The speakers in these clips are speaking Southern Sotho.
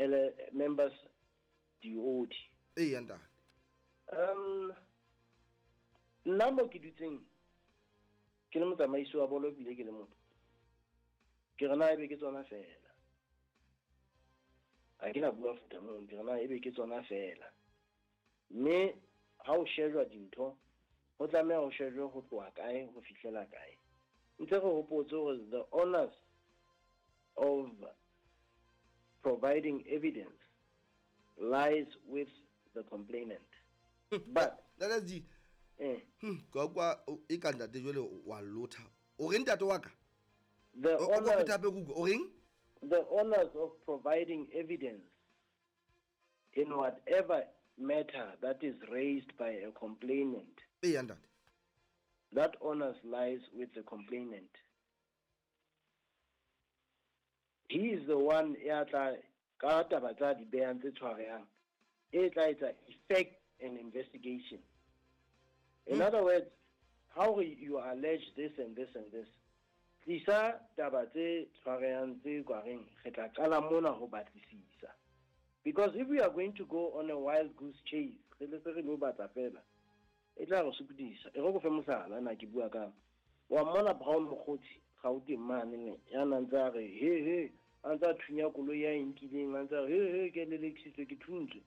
Ele members diodi. Eya ntate. Nna mo ke dutseng ke le motsamaisi wa bolo ebile ke le motho, ke re na ebe ke tsona fela. Ha ke na bua futa moo, ke re na ebe ke tsona fela. Mme ha o shejwa dintho, ho tlameha ho shejwe ho tloha kae ho fihlela kae. Ntse re hopotse hore the honors of providing evidence lies with the complainant. But Ntate G, ka kwa e ka ntate jwale wa lotha. O reng ntate wa ka? The O honors, pheta hape ke utlwe. O reng? The honors of providing evidence in whatever matter that is raised by a complainant. Eya ntate. That honors lies with the complainant. He is the one ya tla ka taba tsa di behang tse tshwarehang, e tla etsa effect an investigation. In other words, how you allege this and this and this, tlisa taba tse tshwarehang tse kwareng re tla qala mona ho batlisisa. Because if we are going to go on a wild goose chase, re le se re lo batla fela, e tla re sokodisa. E re go fe mohlala, na ke bua ka wa mmona Brown Mokgotsi Gauteng mane ne, ya nang ntse a re he he, a ntse a thunya koloi ya e nkileng, a ntse a re he he, ke lelekisitswe, ke thuntswe.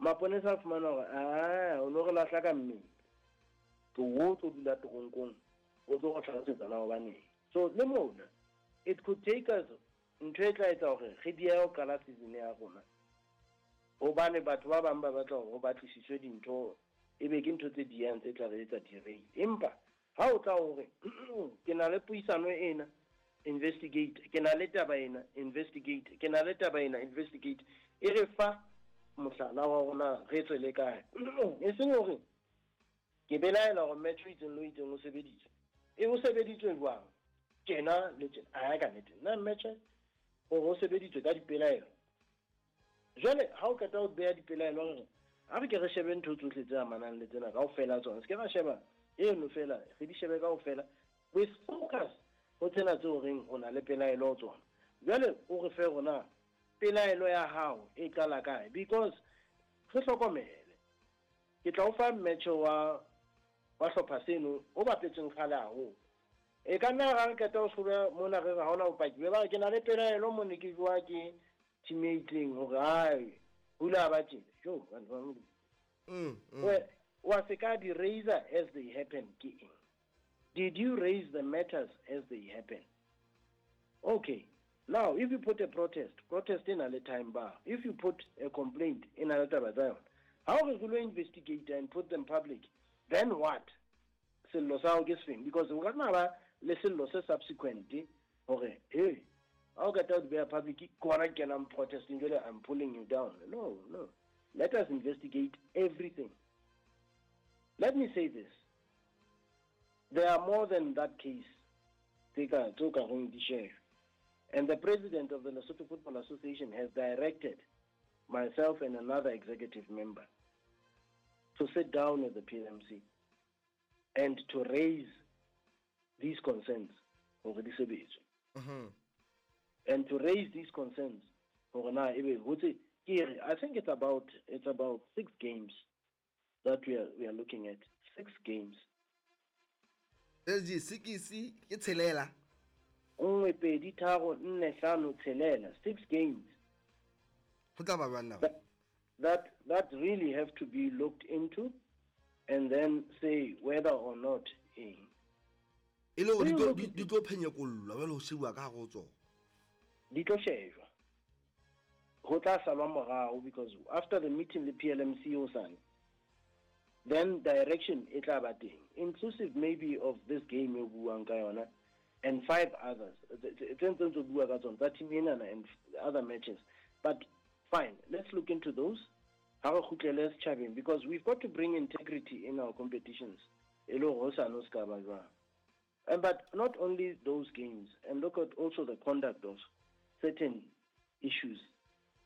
Maponesa a fumana hore, ah, o no re lahla ka mmele. Ke o tlo dula toronkong, o tlo go hlalosetsa na hobaneng. So le mona, it could take us ntho e tla etsa hore re diehe ho qala season ya rona. Hobane batho ba bang ba batla hore ho batlisiswe dintho, ebe ke ntho tse diyang tse tla re etsa derail. Empa ha o tla hore ke na le puisano ena, investigate, ke na le taba ena, investigate, ke na le taba ena, investigate, e re fa mohlala wa rona re tswe le kae. E seng hore ke belaela hore match o itseng le o itseng o sebeditswe. E o sebeditswe jwang? Tjena le tjena. A ka nnete, nna match hore o sebeditswe ka dipelaelo. Jwale ha o qeta ho beha dipelaelo re, ha re ke re shebe ntho tsohle tse amanang le tsena kaofela tsona. Se ke ra sheba eno fela, re di shebe kaofela. We focus ho tsena tseo reng o na le pelaelo ho tsona. Jwale o re fe rona pelaelo ya hao e qala kae? Because re hlokomele. Ke tla o fa match wa hlopha seno o bapetseng kgale haholo. E ka nna ra re qeta ho sheba mona re re ha hona bopaki. Be ba re ke na le pelaelo mone ke jwa ke team e itseng hore hai, hula ba tjena. Jo, batho ba Modimo. Wa se ka di raise as they happen ke eng? Did you raise the matters as they happen? Okay. Now, if you put a protest, protest in a time bar. If you put a complaint in a taba tsa yona, how re lo investigate and put them public? Then what? Sello sa hao ke sefeng? Because o ka nna ba le sello se subsequent hore, hey, ha o qeta ho di beha public, ke hona ke kenang protesting, jwale I'm pulling you down. No, no. Let us investigate everything. Let me say this. There are more than that case. Tse ka, tse o ka reng di shejwe. And the president of the Lesotho Football Association has directed myself and another executive member to sit down with the PMC and to raise these concerns hore di sebetswe. And to raise these concerns hore na ebe ho tse, ke re, I think it's about 6 games that we are looking at. 6 games. SG, 6 ke tshelela. Nngwe, pedi, tharo, nne, hlano, tshelela. 6 games. Ho tla ba jwang na? That really have to be looked into and then say whether or not eng. E le hore Re look di tlo phenyekollwa jwale ho shebuwa ka hare ho tsona. Di tlo shejwa. Ho tla salwa morao because after the meeting le PLMC hosane, then direction e tla ba teng, inclusive maybe of this game e buang ka yona and 5 others. Tse ntse ntse bua ka tsona tsa team enana and other matches. But fine, let's look into those. Ha re kgutlele setjhabeng because we've got to bring integrity in our competitions. E le hore hosane ho se ka ba jwang. And but not only those games, and look at also the conduct of certain issues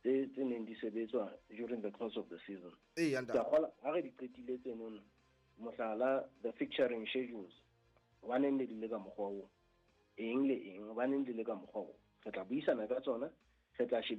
tse neng di sebetswa during the course of the season. Ee, ntate. Ke a kgolwa ha re di qetile tseno, mohlala, the fixturing schedules, hobaneng le di le ka mokgwa oo? Eng le eng, hobaneng di le ka mokgwa oo? Re tla buisana ka tsona, re tla shebisana